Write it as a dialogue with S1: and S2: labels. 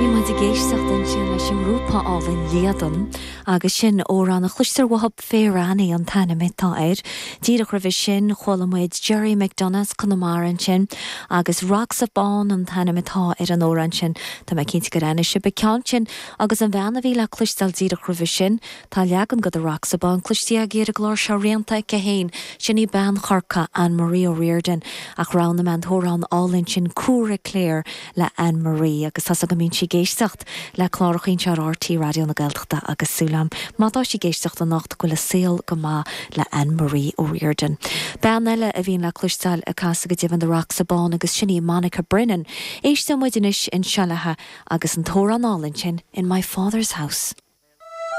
S1: Bhí muid ag éisteacht ansin leis an ngrúpa álainn Líadan agus sin amhrán a chloistear uathu Fair Annie an t-ainm atá air. Díreach roimhe sin chuala muid Gerry McDonagh as Conamara ansin agus Rocks of Bawn an t-ainm atá ar an amhrán sin. Tá mé cinnte gur aithnigh sibh an ceann sin agus an bhean a bhí le cloisteáil díreach roimhe sin, Tá leagan de The Rocks of Bawn cloiste agaibh ar an gclár seo rianta aici féin, sin í bean Chorcaí, Anne Marie O'Riordan, ach roghnaigh mé an t-amhrán álainn sin Cúra Cléir le Anne Marie agus tá's agam go mbíonn sí ag éisteacht le cláracha anseo ar RTÉ Raidió na Gaeltachta agus súil agam má tá sí ag éisteacht anocht go bhfuil a saol go maith le Anne Marie O'Riordan. Bean eile a bhíonn le cloisteáil ag casadh go deimhin The Rocks of Bawn agus sin í Monica Brennan. Éisteoidh muid anois anseo léi agus an t-amhrán álainn sin In My Father's House.